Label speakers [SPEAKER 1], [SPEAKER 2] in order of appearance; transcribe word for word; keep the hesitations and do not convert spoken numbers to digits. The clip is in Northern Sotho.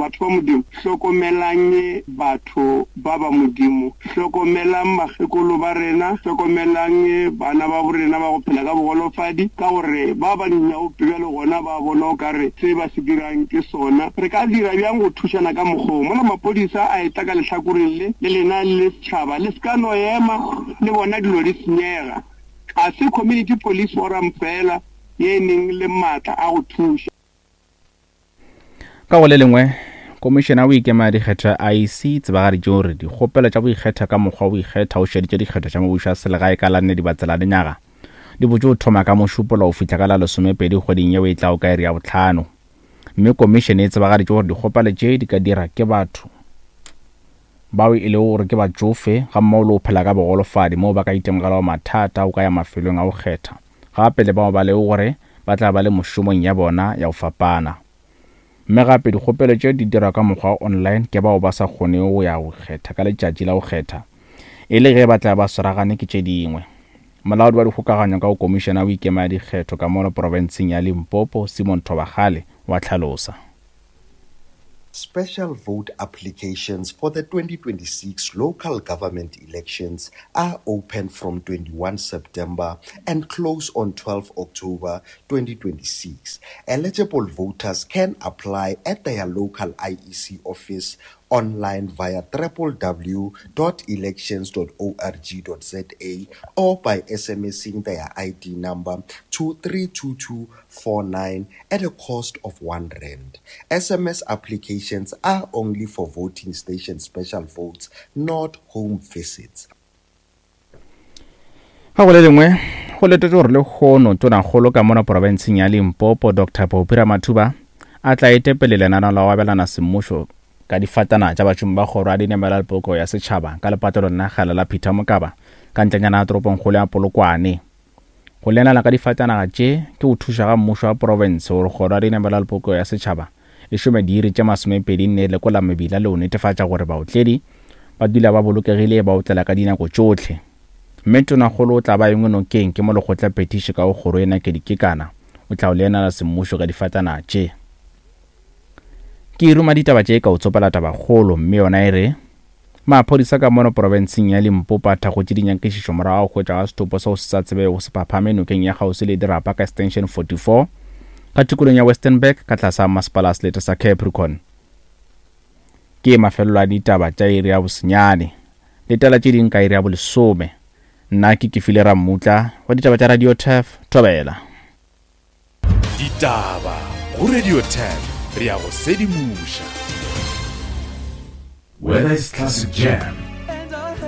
[SPEAKER 1] Batho ba Modimo, hlokomelang batho ba ba Modimo, hlokomelang bakgekolo ba rena, hlokomelang bana ba borena ba go phela ka bogolofadi, ka gore ba ba dinyaope bjale gona ba bona o kare se ba se dirang ke sona. Re ka dira bjang go thušana ka mokgwa wo? Mola maphodisa a etla ka lehlakoreng le, le lena le le setšhaba le se ka no ema le bona dilo di senyega. Ga se Community Police Forum fela ye e neng le maatla a go thuša.
[SPEAKER 2] Ka go le lengwe, Komišene ya Boikemelo ya Dikgetho ya I E C e tsebagaditše gore dikgopelo tša go ikgetha ka mokgwa wa go ikgetha o šeditše dikgetho tša mebušo ya selegae ka la nne Dibatsela lenyaga di botše go thoma ka Mošupologo go fihla ka la lesomepedi kgweding yeo e tlago ka iri ya bohlano. Mme komišene e tsebagaditše gore dikgopelo tše di ka dira ke batho bao e lego gore ke batšofe gammogo le go phela ka bogolofadi moo ba ka itemogelago mathata a go ka ya mafelong a go kgetha, gape le bao ba lego gore ba tla ba le mošomong ya bona ya go fapana. Mme gape dikgopelo tše di dirwa ka mokgwa wa online ke bao ba sa kgonego go ya go kgetha ka letšatši la go kgetha, e le ge ba tla ba swaragane ke tše dingwe. Molaodi wa dikgokaganyo ka go Komišene ya Boikemelo ya Dikgetho ka mono profenseng ya Limpopo, Simon Thobakgale, wa hlalosa.
[SPEAKER 3] Special vote applications for the twenty twenty-six local government elections are open from twenty-one September and close on twelve October twenty twenty-six. Eligible voters can apply at their local I E C office online via w w w dot elections dot org dot z a or by SMSing their I D number to three two two four nine at a cost of one rand. S M S applications are only for voting station special votes, not home visits.
[SPEAKER 2] Ga go le lengwe, go letetšwe gore lehono Tonakgolo ka mona profenseng ya Limpopo, Doctor Phophi Ramathuba, a tla etepele lenaneo la go abelana semmušo ka difatana tša bašomi ba kgoro ya dinamela le poloko ya setšhaba ka lepatlelong la kgale la Peter Mokaba ka ntlenyana ya toropongkgolo ya Polokwane. Go lenala ka difatanaga tše ke go thuša ga mmušo wa profense gore kgoro ya dinamela le poloko ya setšhaba e šome diiri tše masomepedi nne lekola mebila le go netefatša gore baotledi ba dula ba bolokegile ba otlela ka dinako tšohle. Mme Tonakgolo o tla ba engwe nokeng ke mo lekgotla phetiši ka go kgoro ena ke dikekana o tla o lenala semmušo ka difatanaga tše. Ke ruma ditaba tše ka o tsopela tabakgolo, mme yona e re maphodisa ka mono profenseng ya Limpopo a thakgotše dinyakišišo morago ga go hwetšwa ga setopo seo se sa tsebego se phaphame nokeng ya kgauswi le dirapa ka Extension forty-four ka tikolong ya Westernburg ka tlase ga masepala a selete sa Capricorn. Ke mafelelo a ditaba tša iri ya bosenyane. Letela tše ding ka iri ya bolesome. Nna ke Kefile Rammutla wa ditaba tša Radio Turf, Thobela.
[SPEAKER 4] Ditaba go Radio Turf, re ya go sedimoša.
[SPEAKER 5] Whether it's classic jams,